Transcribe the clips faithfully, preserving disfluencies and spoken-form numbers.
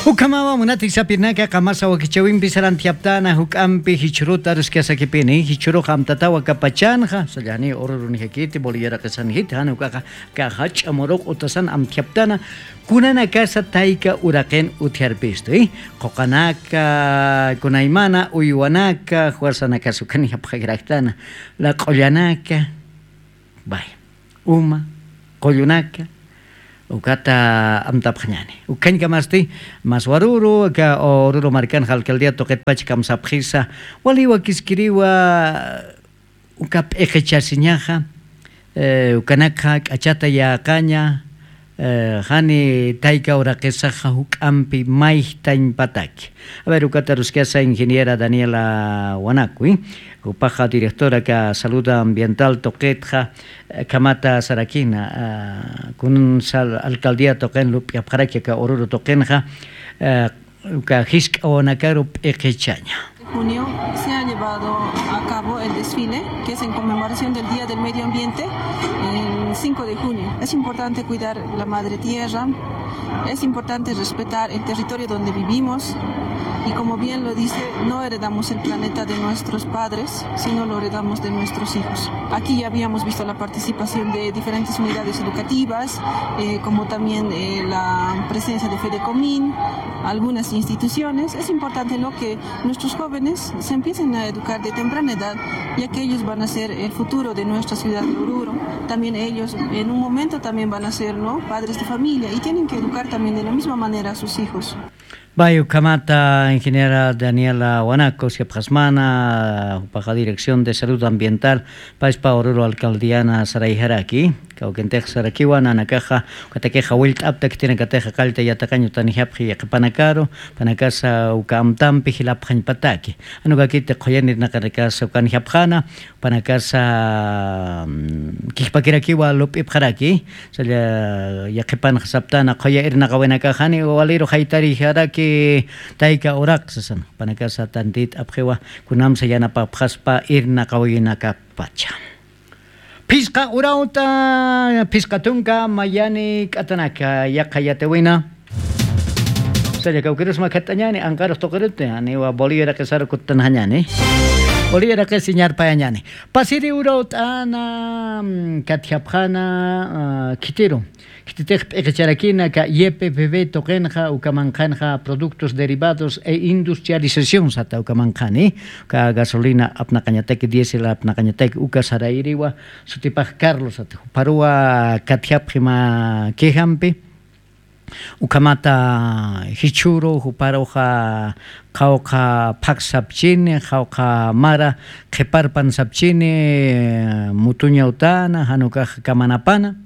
Ukhamawa munati sapirnaka qamasa wakichawimpi sarantiyaptana juk'ampi jichhuruta aruskasakipini, jichhuruxa amtatawa kapachanxa, sallani ururunjakiti, bolillaraqasanjiti, jan ukaxa, ka jach'a muruq utasan amtiyaptana, kunanakasa tayka uraqin utjarpistu, ¿eh? Quqanaka, kunaymana, uywanaka, fuerzanakasa ukanijapxakiraktana, laq'ullanaka, vaya, uma, qullunaka, ukata amtapxañani. Ukhañkamasti, mas waruru, aka Oruro markanxa alcaldía tuqitpach kamsapxisa, wali wakiskiriwa, uka p'iqichasiñaxa, eh, ukanakxa k'achata yäqaña, eh, jani tayka uraqisaxa juk'ampi mayjtañ pataki. A ver, ukata aruskasa ingeniera Daniela Wanaku, jupaxa directora aka salud ambiental tuqitxa, eh, kamata sarakina, ah, kunan sal-, alcaldía tuqin lup'yapxaraki aka Oruro tuqinxa, eh, uka jisk'awanakaru p'iqichaña. Junio se ha llevado a cabo el desfile, que es en conmemoración del Día del Medio Ambiente, el cinco de junio. Es importante cuidar la madre tierra, es importante respetar el territorio donde vivimos y, como bien lo dice, no heredamos el planeta de nuestros padres, sino lo heredamos de nuestros hijos. Aquí ya habíamos visto la participación de diferentes unidades educativas, eh, como también, eh, la presencia de Fedecomín, algunas instituciones. Es importante, ¿no?, que nuestros jóvenes se empiecen a educar de temprana edad, ya que ellos van a ser el futuro de nuestra ciudad de Oruro. También ellos en un momento también van a ser, ¿no?, padres de familia y tienen que educar también de la misma manera a sus hijos. Vaya, ukhamata ingeniera Daniela Wanaku, siyapxasmana, jupaxa dirección de salud ambiental, payspa Oruro alcaldíana sarayjaraki, kawkintix sarakiwa, nanakaxa, ukatakixa willt'apta khitinakatixa qallta yatiqañ utanijapxi yaqhipanakaru, jupanakasa uka amtampi jilapxañpataki. Jan ukakiti qhuyanirnaqanakasa ukanijapxana, jupanakasa, mm, kijpakirakiwa lup'ipxaraki, salla yaqhipanxa saptana, qhuya irnaqawinakax jani waliru jaytarijaraki tayka uraq sasan, jupanakasa tantit'apxiwa, kunamsa yanapapxaspa irnaqawinakapacha. Phisqa urawt'a, phisqa tunka, mayani k'atanaka, yaqha yatiwina. Salla kawkirusma khatt'añani, anqarux tuqiruti, janiwa Bolivia iraqisar kuttanxañani. Bolivia iraqis iñarpayañani. Pasiri urawt'ana, mm, katjapxana, ah, khitiru. Khititix p'iqicharakina, ka Y P P B tuqinxa, uka manqhanxa productos derivados e industrialización sata uka manqhani, ka gasolina apnaqañataki, diésel apnaqañataki, uka sarayriwa, sutipax Carlos sata, juparuwa katjapxi mä quejampi, ukhamata jichhüru, juparuxa qhawqha phak sapchini, qhawqha mara qhiparpan sapchini, mutuña utana, jan ukax kamanapana.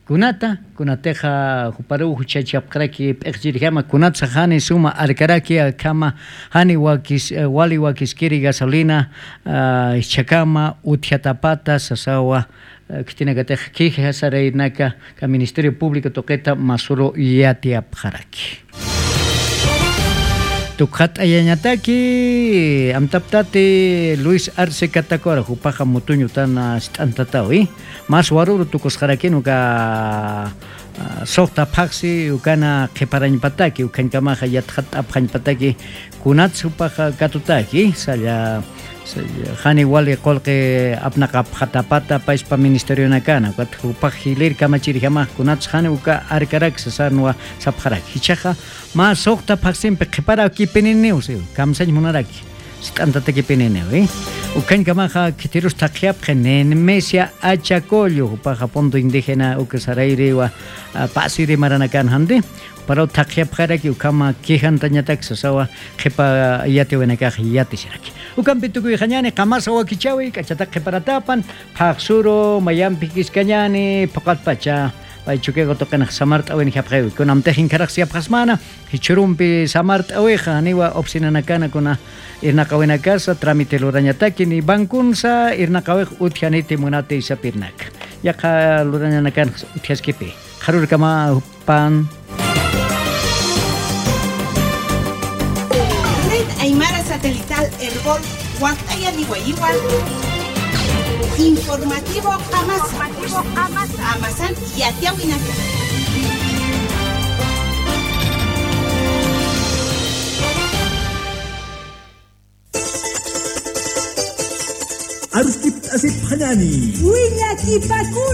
Kunata, kunatixa juparuw juchachapxaraki p'iqchirjama, kunatsa jani suma arkaraki, akhama jani wakis-, eh, wali wakiskiri gasolina, ah, jichhakama utjatapata sasawa, eh, khitinakatix queja saraynaka, ka Ministerio Público tuqita masuru yatiyapxaraki. Tukxat'ayañataki, amtaptati Luis Arce Catacora, jupaxa mutuña utana sit'antatawi, mas waruru tukusxarakin uka, ah, suxta phaxsi, ukana qhiparañpataki, ukhañkamaxa yatxat'apxañpataki, kunats jupaxa katutaki, salla, salla, jani wali qullqi apnaqapxatapata payspa ministerionakana, ukat jupax jilir kamachirjamax kunats jani uka arkarak sasanwa sapxarak. Jichhaxa, mä suxta phaxsimpi qhiparakipininiw, si, kamsañ munaraki, sit'antatakipininiw, ¿eh? Ukhañkamaxa khitirus thaqhiyapxi Nemesio Achacollo, jupaxa punto indígena, uka sarayriwa, ah, pasiri maranakan janti, juparuw thaqhiyapxaraki, ukhama quejantañatak sasawa, qhipa yatiwinakax yatisharaki. Ukampi tukuyxañani, qamasa wakichawi, k'achatak qhiparatapan, phaxsuru, mayampi jiskiskañani, phuqatpacha, pay Chukiyawu tuqinx samart'awinjapxiwi. Kunamtix inkharax siyapxasmana, jichhürumpi samart'awixa, janiwa oficinanakana kuna irnaqawinakasa, trámite lurañataki, ni bankunsa irnaqawix utjaniti munati sapirnaka. Yaqha lurañanakanx utjaskipi. Qharürkama pan. Red Aymara Satelital Erbol, waqt'ayani wayiwan. Informativo Qamasa. Qamasan yatiyawinaka. aruskipt'asipxañani. Willakipakuna.